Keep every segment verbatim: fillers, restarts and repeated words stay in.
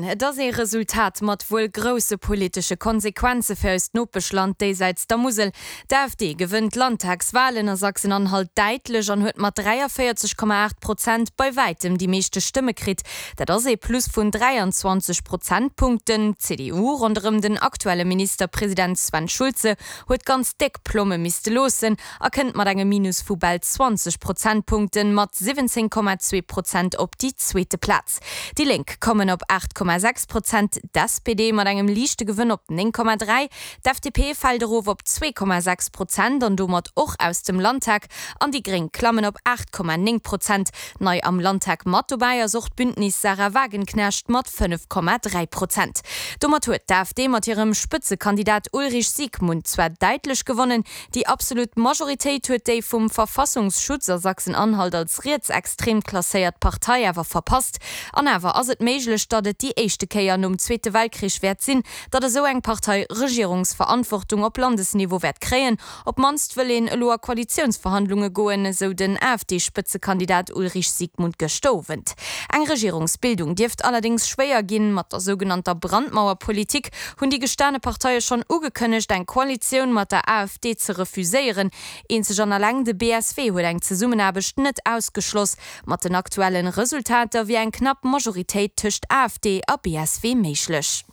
Moien. Et ass ee Resultat mat wuel grousse politesche Konsequenze fir eist Nopeschland déisäits der Musel. D'AfD gewënnt d'Landtagswalen a Sachsen-Anhalt däitlech an huet mat dräiavéierzeg Komma aacht Prozent bei wäitem déi meeschte Stëmme kritt. Dat ass ee Plus vun dräianzwanzeg Prozentpunkten. D'C D U ronderëm den aktuelle Ministerpresident Sven Schulze huet ganz déck Plomme misste loossen a kënnt mat engem Minus vu bal zwanzeg Prozentpunkten mat siwwenzéng Komma zwee Prozent op déi zweete Plaz. Déi Lénk kommen op aacht Komma sechs Prozent, d'S P D mat engem liichte Gewënn op néng Komma dräi, d'F D P fält erof op zwee Komma sechs Prozent an domat och aus dem Landtag an déi Gréng klammen op aacht Komma néng Prozent. Nei am Landtag mat dobäi ass och d'Bündnis Sahra Wagenknecht mat fënnef Komma dräi Prozent. Domat huet d'AfD mat hirem Spëtzekandidat Ulrich Siegmund zwar däitlech gewonnen, déi absolut Majoritéit huet déi vum Verfassungsschutz a Sachsen-Anhalt als rietsextrem klasséiert Partei awer verpasst. An awer ass et méiglech, datt et déi éischte Kéier nom Zweete Weltkrich wäert sinn, datt esou eng Partei Regierungsverantwortung op Landesniveau wäert kréien. Op d'mannst wëll een elo a Koalitiounsverhandlunge goen, esou den A F D-Spëtzekandidat Ulrich Siegmund gëschter Owend. Eng Regierungsbildung dierft allerdéngs schwéier ginn. Mat der sougenannter Brandmauerpolitik hunn déi gestane Parteie schonn ugekënnegt, eng Koalitioun mat der A F D ze refuséieren. Eenzeg an alleng de B S W huet eng Zesummenaarbecht net ausgeschloss. Mat den aktuellen Resultater wier eng knapp Majoritéit tëscht A F D a B S W méiglech.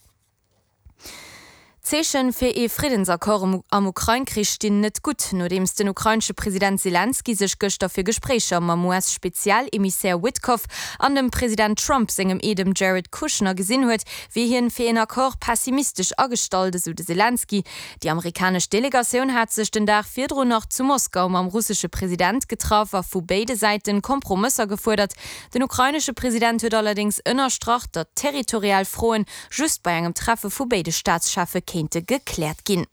D'Zeeche fir ee Friddensaccord am Ukrain-Krich stinn net gutt, nodeems den ukrainesche President Selenskyj sech gëschter fir Gespréicher mam U S-Spezialemissär Witkoff an dem President Trump sengem Eedem Jared Kushner gesinn huet, wier hien fir een Accord pessimistesch agestallt, esou de Selenskyj. Déi amerikanesch Delegatioun hat sech den Dag virdrun nach zu Moskau mam russesche President getraff a vu béide Säiten Kompromësser gefuerdert. Den ukrainesche President huet allerdéngs ënnerstrach, datt territorial Froen just bei engem Treffe vu béide Staatscheffe kéinte gekläert ginn.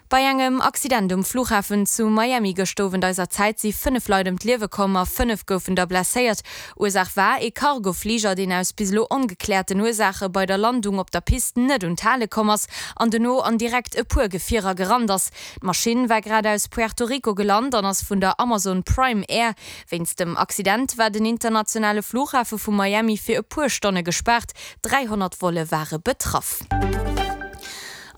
Bei engem Accident um Flughafen zu Miami gëschter Owend eiser Zäit si fënnef Leit ëm d'Liewe komm a fënnef goufen der blesséiert. Ursaach war ee Cargofliger, deen aus bis elo ongekläerten Ursaache bei der Landung op der Pist net un d'Hale komm ass an dono an direkt e puer Gefierer gerannt ass. D'Maschinn war grad aus Puerto Rico gelant an ass vun der Amazon Prime Air. Wéinst dem Accident war den internationale Flughafe vu Miami fir e puer Stonne gespaart, dräihonnert Volle ware betraff.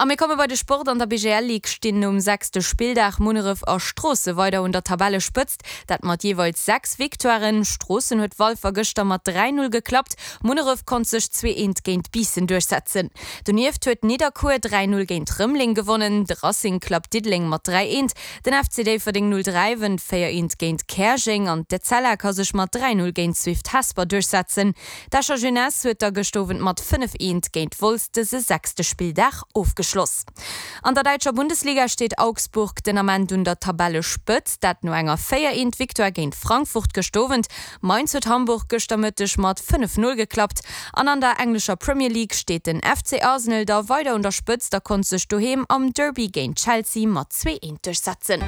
A mir komme bei de Sport. An der B G L Ligue stinn nom sechste Spilldag Munneref a Stroossen weider un der Tabellespëtzt, dat mat jeeweils sechs Victoiren. Stroossen huet Walfer gëschter mat dräi Null geklappt, Munneref konnt sech zwee eent géint Biissen duerchsetzen. Donieft huet Nidderkuer dräi Null géint Rëmeleng gewonnen, de Racing klappt Diddeleng mat dräi eent, den F C Déifferdeng null dräi wënnt véier eent géint Käerjeng an d'Etzella ka sech mat dräi Null géint Swift Hesper duerchsetzen. D'Escher Jeunesse huet da gëschter Owend mat fënnef eent géint Wolz dëse sechste Spilldag ofgeschloss. An der däitscher Bundesliga steet Augsburg den Ament un der Tabellespëtzt, dat no enger véier eent Victoire géint Frankfurt gëschter Owend. Mainz huet Hamburg gëschter Mëtteg mat fënnef null geklappt an an der englescher Premier League steet den F C Arsenal da weider un der Spëtzt a konnt sech doheem am Derby géint Chelsea mat zwee eent duerchsetzen.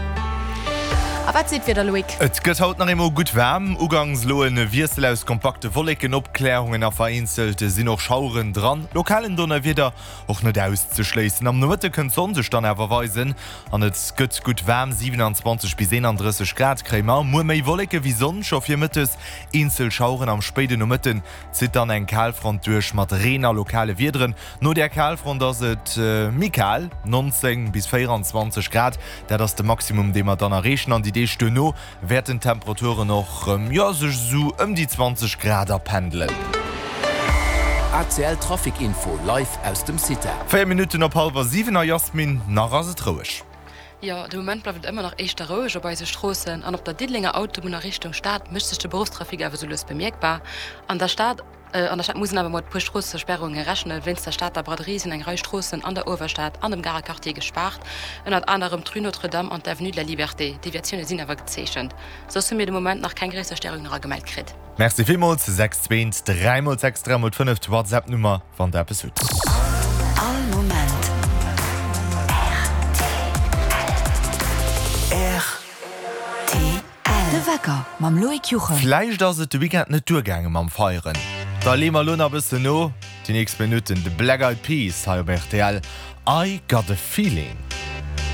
A wat seet d'Wieder, Loïc? Et gëtt haut nach eemol gutt waarm. Ugangs elo e Wiessel aus kompakte Wolleken, Opkläerungen a vereenzelt sinn och Schaueren dran. Lokalen Donnerwieder och net auszeschléissen. Am Nomëtte kënnt d'Sonn sech dann awer weisen an et gëtt gutt waarm, siewenundzwanzeg bis eenandrësseg Grad kréie mer. Muer méi Wolleke wéi Sonn, scho virmëttes eenzel Schaueren. Am spéiden Nomëtten zitt dann eng Kalfront duerch mat Reen a lokale Wiederen. No där Kalfront ass et méi kal, neunzéng bis véieranzwanzeg Grad, dat ass de Maximum dee mer dann erreechen. An déi Deeg duerno wäerten d'Temperaturen och jo sech esou ëm déi zwanzeg Grad apendelen. A C L Trafic Info live aus dem CITA. Véier Minutten op hallwer siwen a Jasmin, nach ass et roueg. Jo, de Moment bleift et ëmmer nach éischter roueg op eise Stroossen an op der Diddelenger Autobunn a Richtung Stad mécht sech de Beruffstrafic awer sou lues bemierkbar. An der Stad an der Stad muss een awer mat e puer Stroossesperrunge rechnen. Wéinst der Stater Braderie sinn eng Rei Stroossen an der Uewerstad an dem Garer Quartier gespaart, ënnert anerem d'Rue Notre-Dame an d'Avenue de la Liberté. Deviatioune sinn awer gezeechent. Soss hu mir de Moment nach keng gréisser Störungen eragemellt kritt. Merci villmools. sechs zwee dräi mol sechs dräi mol fënnef d'WhatsApp-Nummer, wann der eppes hutt. All Moment R T L. De Wecker mam Loïc Juchem. Vläicht ass et de Weekend net duergaange mam Feieren. Da leeë mer elo nach e bëssen no. Déi nächst Minutten de Black Eyed Peas hei op R T L. I Got a Feeling.